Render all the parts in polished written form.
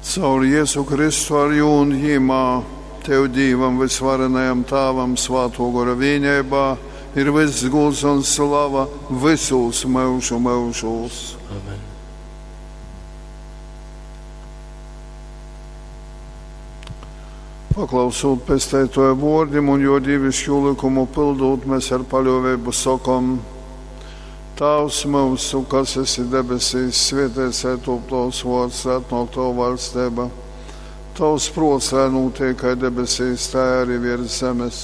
Caur Jezu Kristu ar jū un jimā, Tev, Dīvam, vysvarenajam Tāvam, Svātō Gora vīneibā, ir vyss gūds un slava vysūs myužu myužūs. Amen. Paklausūt Pesteitōja vōrdim un jō dīviškū lykumu pyldūt, mēs ar paļōveibu sokom: Tāvs myusu, kas esi debesīs, svēteits lai top tovs vōrds, lai atnōk tova vaļsteiba. Tavs prōts, lai nūtiek kai debesīs, tai arī virs zemes.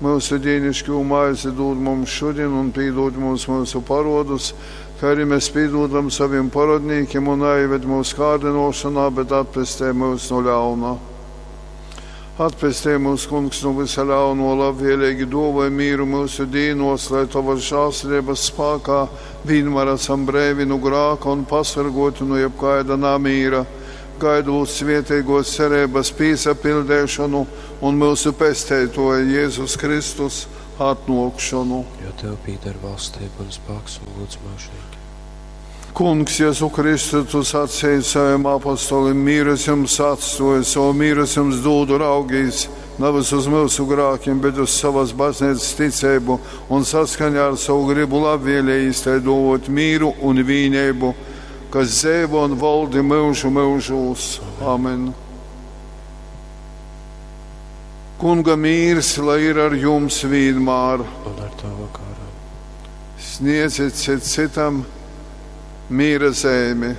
Myusu dīnišķū maizi dūd mums šodien un pīdūd mums myusu parodus, kā arī mēs pīdūdam saviem parodnīkiem un neieved mūsu kārdinošanā, bet atpestē mūs no ļauna. Atpestē mūs, kungs, no visa ļauno, labvēlīgi dāvāj mīru mūsu dīnos, lai tavas žēlsirdības spēkā vienmēr esam brēvi no grāka un pasargoti no jebkāda namīra, gaidot svētīgos cerības pīsapildēšanu un mūsu pesteitoja Jēzus Kristus atnākšanu. Jo Tev pīder valstība un spēks un gods mūžīgi. Kungs, Jēzu Kristu, tu sacīji saviem apostolim, mīras jums atstoju, savu mīras jums dūdu raugīs, nevis uz mūsu grākiem, bet uz savas baznīcas ticību un saskaņā ar savu gribu labvēlējīs tai dot mīru un vīnību, kas dzīvo un valdi mūžu mūžūs. Amen. Kunga mīrs, lai ir ar jums vienmēr. Un ar tavu garu. Sniedziet cit citam mīra zīmi.